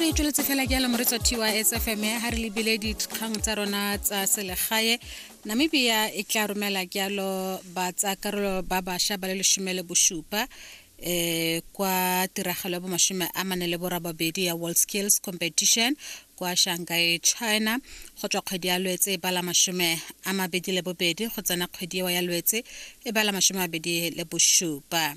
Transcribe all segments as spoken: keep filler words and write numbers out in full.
Re tsweletse fela jalo, moretsi wa T Y S F M, ha re lebile dikgang tsa rona tsa selegae. Namibia e tla romela jalo ba tsa karolo ba bašwa ba le lesome le bosupa eh kwa tiragalo ya bomashome a mane le borababedi ya World Skills Competition kwa Shanghai, China, go tswa kgwedi ya Lwetse e bala mashome a mabedi le bobedi go tsena kgwedi eo ya Lwetse e bala mashome a mabedi le bosupa.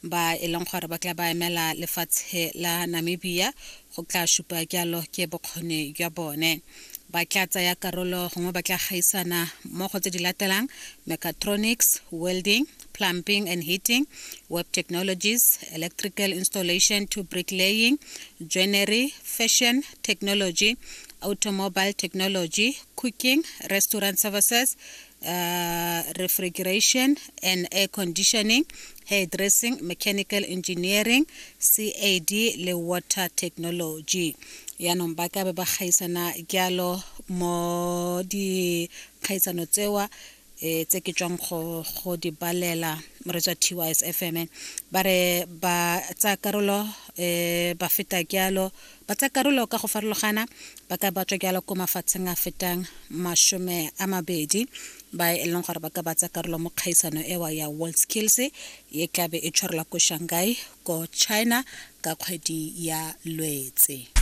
Ba e leng gore ba tla ba emela lefatshe la Namibia go tla supa jalo ke bokgoni jwa bone. Ba tla tsaya karolo gongwe ba tla gaisana mo go tse di latelang: mechatronics, welding, plumbing and heating, web technologies, electrical installation to bricklaying, joinery, fashion technology, automobile technology, cooking, restaurant services, uh, refrigeration and air conditioning, hairdressing, mechanical engineering, C A D le water technology. Yaanong ba ka be ba gaisana jalo mo dikgaisano tsewa eh tse ke tswang go go di balela, moretsi wa T Y S F M. Ba re ba tsaya karolo eh ba feta jalo, ba tsaya karolo ka go farologana, ba ka ba tswa jalo ko mafatsheng a fetang mashome a mabedi ba e leng gore ba ka ba tsaya karolo mo kgaisano ewa ya World Skills e tlabe e tshwarelwa ko Shanghai, ko China, ka kgwedi ya Lwetse.